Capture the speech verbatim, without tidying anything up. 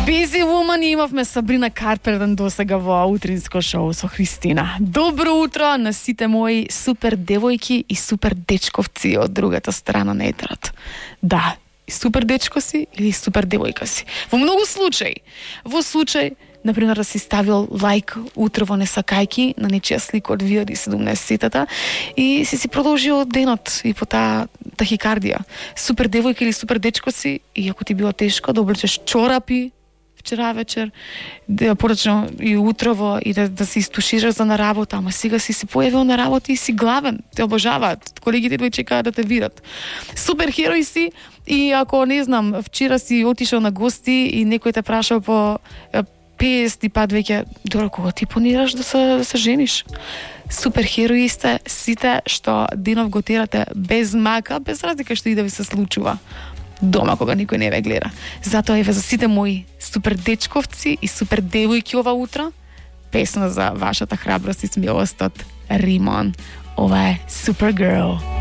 Busy Woman имавме Сабрина Карпентер досега во утринско шоу со Христина. Добро утро на сите мои супер девојки и супер дечковци од другата страна на етерот. Да, супер дечко си или супер девојка си. Во многу случаи, во случај например да си ставил лайк утрово не сакајки на нечија слика од две илјади и седумнаесетта и си си продолжил денот и по таа тахикардија. Супер девојка или супер дечко си и ако ти било тешко да облечеш чорапи вчера вечер, да порачно и утрово и да, да се истушираш за на работа, ама сега си се појавил на работа и си главен, те обожаваат, колегите твои чекаат да те видат. Супер херој си и ако не знам, вчера си отишол на гости и некој те прашал по песет пат веќе, добро, кога ти планираш да се, да се жениш? Супер херои сте сите што денов го терате без мака, без разлика што и да ви се случува дома кога никој не ве гледа. Затоа еве за сите мои супер дечковци и супер девојки ова утро, песна за вашата храброст и смелост од Римон. Ова е Supergirl.